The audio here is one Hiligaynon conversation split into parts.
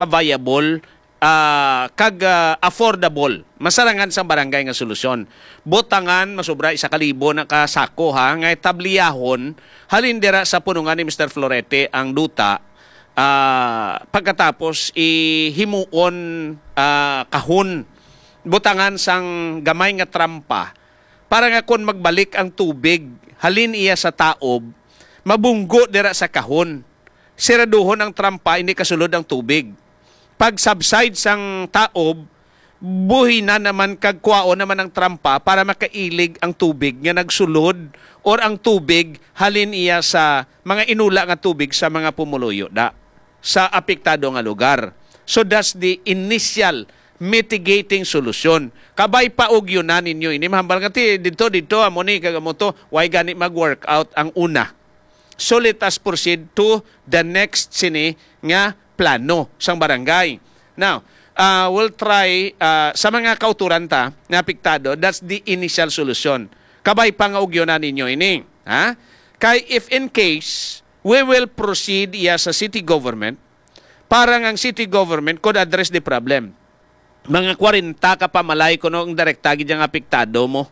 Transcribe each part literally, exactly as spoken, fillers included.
viable, ah, kag, ah, affordable. Masarangan sang barangay nga solusyon. Butangan, masubra isa ka libo na ka sako, ha, nga tabliyahon, halin dira sa punungan ni Mister Florete ang duta, ah, pagkatapos ihimuon, ah, kahon. Butangan sang gamay nga trampa para nga kon magbalik ang tubig, halin iya sa taob, mabunggo dira sa kahon. Siraduhon ang trampa, hindi kasulod ang tubig. Pag subside sang taob, buhi na naman kag kuwaon naman ang trampa para makailig ang tubig nga nagsulod or ang tubig halin iya sa mga inula nga tubig sa mga pumuluyo da sa apektado nga lugar. So that's the initial mitigating solution. Kabay pa og yun na ninyo ini, mahambal nga ti dito, dito, amo ni, kag amo to, why gani mag-work out ang una? So let us proceed to the next sini nga plano sang barangay. Now, uh, we'll try, uh, sa mga kauturan ta nga apektado, that's the initial solution. Kabay pa nga ugyonan ninyo ini, ha? Kay if in case we will proceed iya sa city government, para nga ang city government could address the problem. Mga kwarenta ka pamalay kuno ang direkta gid ang apektado mo,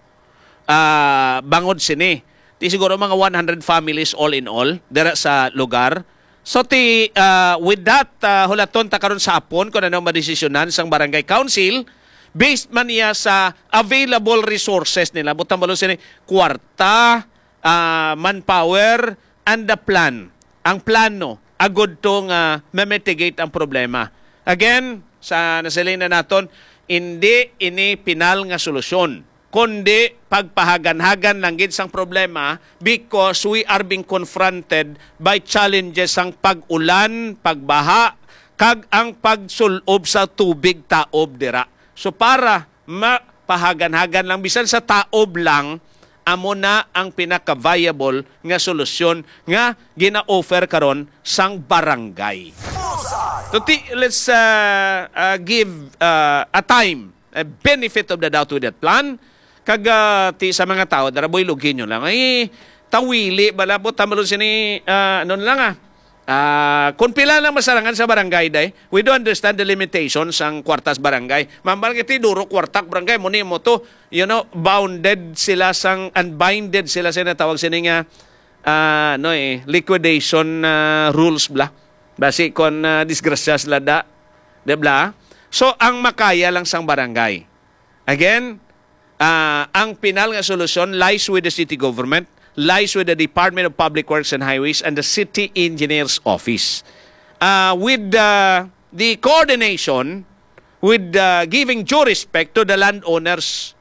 ah, bangod sini. Ti siguro mga one hundred families all in all dira sa lugar. So ti, ah, with that, ah, hulaton ta karon sa hapon kung ano ang madesisyonan sang barangay council based man niya sa available resources nila. Butang balon sini, kwarta, ah, manpower, and the plan. Ang plano, agud to nga ma-mitigate ang problema. Again, sa nasiling na naton, hindi ini pinal nga solusyon, kundi pagpahaganhagan lang gid sang problema because we are being confronted by challenges sang pag-ulan, pagbaha, kag ang pagsul-ob sa tubig taob dira. So para mapahaganhagan lang, bisan sa taob lang, amo na ang pinaka-viable nga solusyon nga gina-offer karon sang barangay. So, ti-, let's, uh, uh, give, uh, a time, a benefit of the doubt with that plan. Kag, uh, ti sa mga tao, dara boy, lugin nyo lang. Ay, tawili, bala po, tamalon sini, uh, ano na lang, ah. Ah, kung pila lang masarangan sa barangay, day, we do understand the limitations sang kwartas barangay. Mambal kiti duro kwartak barangay, mo ni mo to, you know, bounded sila sang, unbinded sila sa natawag sini nga, ah, ano eh, liquidation, ah, rules bla. Basi kon, ah, disgrasya sila da, di bla? So, ang makaya lang sang barangay. Again, ah, ang pinal nga solusyon lies with the city government, lies with the Department of Public Works and Highways and the City Engineer's Office. Ah, with, ah, the coordination, with, ah, giving due respect to the landowners,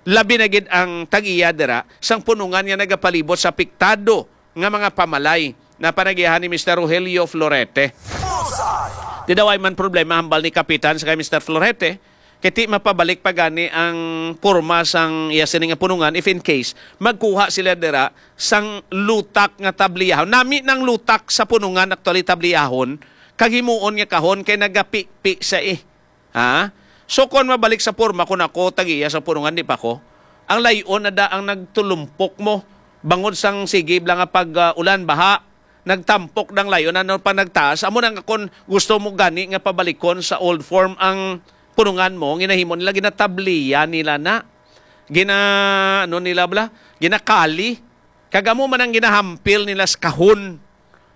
labi na gid ang tag-iya dira sang punungan nga nagapalibot sa apektado nga mga pamalay na panagiahan ni Mister Rogelio Florete. Di daw ay man problema hambal ni Kapitan sa kay Mister Florete, kay ti mapabalik pa gani ang porma sang iya sini nga punungan if in case magkuha sila dira sang lutak nga tabliyahon. Nami nang lutak sa punungan, actually tabliyahon, kag himuon nga kahon kay nagapipi sa eh. Ha? So, kon mabalik sa porma, kon ako tagiya sa punungan, di pa ko. Ang layon na da ang nagtulumpok mo. Bangod sang sige bla nga pag, ah, ulan, baha, nagtampok dang layon, ano pa nagtaas. Amo na nga kon gusto mo gani nga pabalikon sa old form ang punungan mo, ginahimo nila, ginatabliya nila na. Gina, ano nila bla? Ginakali. Kag amo man ang ginahampil nila sa kahon.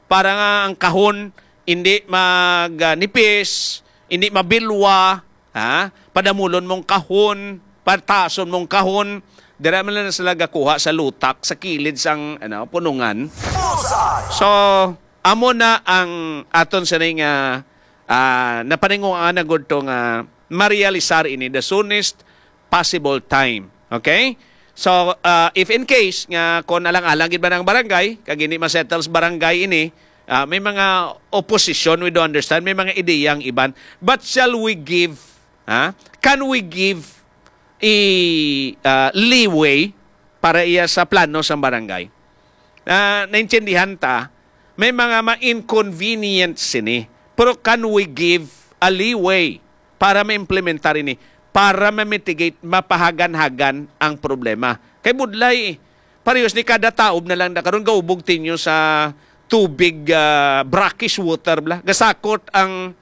Para nga ang kahon hindi mag, ah, nipis, hindi mabilwa, ha? Padamulon mong kahon, pataason mong kahon, dira man lang sila gakuha sa lutak, sa kilid sang, ano, punungan. So, amo na ang aton sini nga, ah, napaninguhaan na gud to nga marealisar ini the soonest possible time. Okay? So, ah, if in case nga kung alang-alang gid ba ng barangay, kag hindi ma-settle sa barangay ini, ah, may mga opposition, we do understand, may mga ideya ang iban. But shall we give, ha? Can we give a, ah, leeway para iya sa plano sa barangay? Ah, naintindihan ta, may mga ma-inconvenient sini. Pero can we give a leeway para ma-implementar ini, para ma-mitigate, mapahagan-hagan ang problema? Kay budlay, parehas ni kada taob na lang na karon gaubog tinyo sa tubig, ah, brackish water bla. Gasakot ang